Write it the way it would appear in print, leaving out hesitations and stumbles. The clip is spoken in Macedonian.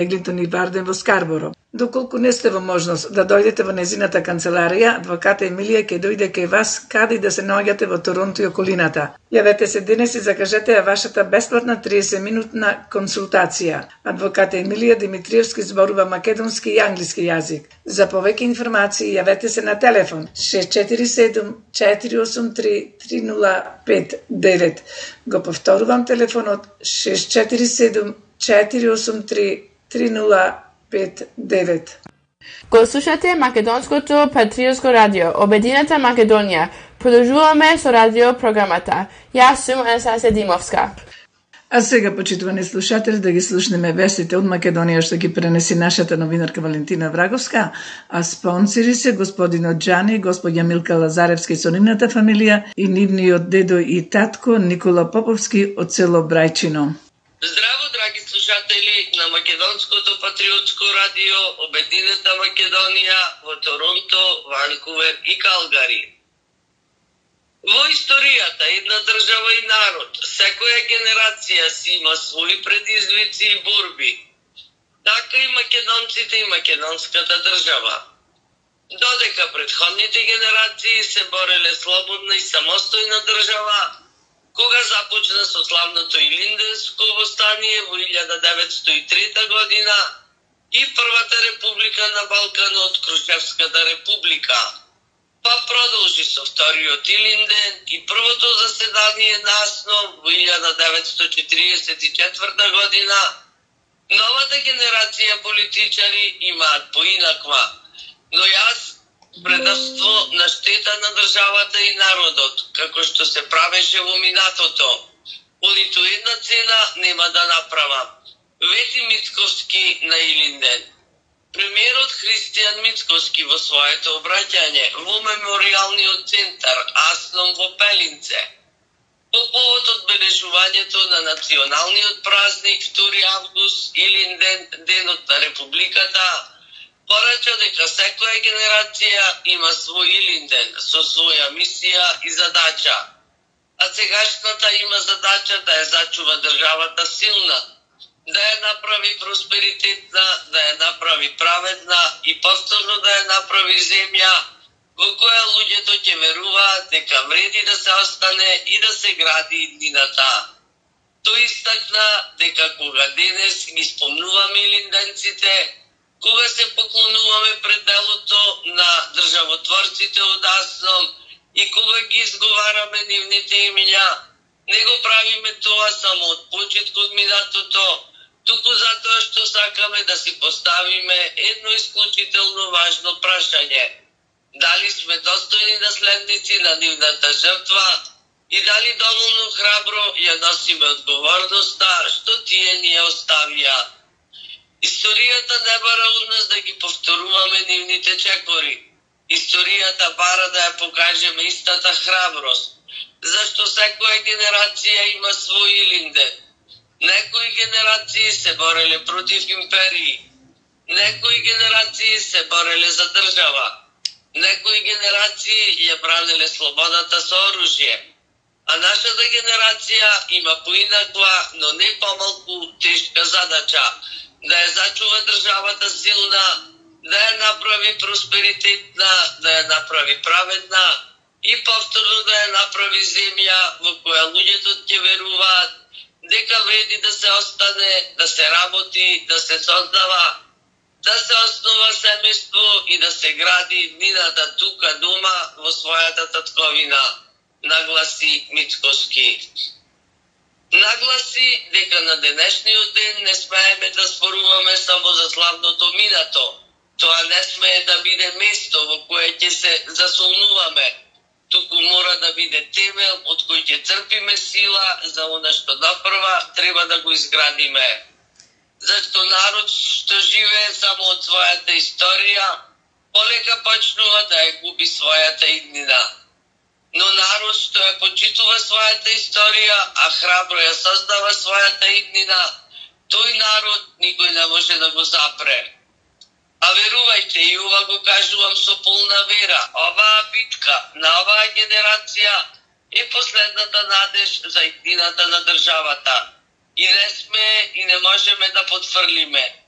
Еглинтон и Варден во Скарборо. Доколку не сте во можност да дојдете во незината канцеларија, адвоката Емилија ќе дојде кај вас каде и да се наоѓате во Торонто и околината. Јавете се денес и закажете ја вашата бесплатна 30-минутна консултација. Адвоката Емилија Димитриевски зборува македонски и англиски јазик. За повеќе информации јавете се на телефон 647 483 3059. Го повторувам телефонот 647 483 3059. Го слушате Македонското патриотско радио, Обединета Македонија. Продолжуваме со радио програмата. Јас сум Анастасија Димовска. А сега, почитувани слушатели, да ги слушнеме вестите од Македонија што ги пренеси нашата новинарка Валентина Враговска, а спонсори се господинот Џани и господја Милка Лазаревски со нивната фамилија и нивниот дедо и татко Никола Поповски од село Брајчино. Здраво, драги слушатели на Македонското патриотско радио Обединета Македонија во Торонто, Ванкувер и Калгари. Во историјата една држава и народ, секоја генерација си има своји предизвици и борби. Така и македонците и македонската држава. Додека претходните генерации се бореле слободна и самостојна држава, кога започна со славното Илинденско востание во 1903 година и првата република на Балканот, Крушевската република, па продолжи со вториот Илинден и првото заседание на АСНО во 1944 година, новата генерација политичари имаат поинаква, но јас предавство на штета на државата и народот, како што се правеше во минатото. По ниту една цена нема да направам. Вети Мицковски на Илинден. Премиерот Христијан Мицковски во своето обраќање во меморијалниот центар АСНОМ во Пелинце по повод одбележувањето на националниот празник 2 август Илинден, денот на републиката, порача дека секоја генерација има свој Илинден со своја мисија и задача, а сегашната има задача да ја зачува државата силна, да ја направи просперитетна, да ја направи праведна и повторно да ја направи земја во која луѓето ќе веруваат дека вреди да се остане и да се гради иднината. Тој истакна дека кога денес ги спомнуваме илинденците, кога се поклонуваме пред делото на државотворците од АСНОМ и кога ги изговараме нивните имиња, не го правиме тоа само од почит кон минатото, туку затоа што сакаме да си поставиме едно исклучително важно прашање. Дали сме достојни наследници на нивната жртва и дали доволно храбро ја носиме одговорноста што тие ни ја оставија. Историјата не бара од нас да ги повторуваме нивните чекори. Историјата бара да ја покажеме истата храброст, зашто секоја генерација има свој Илинден. Некои генерации се бореле против империи, некои генерации се бореле за држава, некои генерации ја бранеле слободата со оружје, а нашата генерација има поинаква, но не помалку тешка задача да ја зачува државата силна, да ја направи просперитетна, да ја направи праведна и повторно да ја направи земја во која луѓето ќе веруваат дека вреди да се остане, да се работи, да се создава, да се основа семејство и да се гради иднината тука дома во својата татковина, нагласи Мицковски. Нагласи дека на денешниот ден не смееме да зборуваме само за славното минато. Тоа не смее да биде место во кое ќе се засолнуваме, туку мора да биде темел од кој ќе црпиме сила за она што напрва треба да го изградиме. Зашто народ што живее само од својата историја, полека почнува да ја губи својата иднина. Но народ што ја почитува својата историја, а храбро ја создава својата иднина, тој народ никој не може да го запре. А верувајте, и ова го кажувам со полна вера, оваа битка на оваа генерација е последната надеж за иднината на државата. И не сме и не можеме да потфрлиме.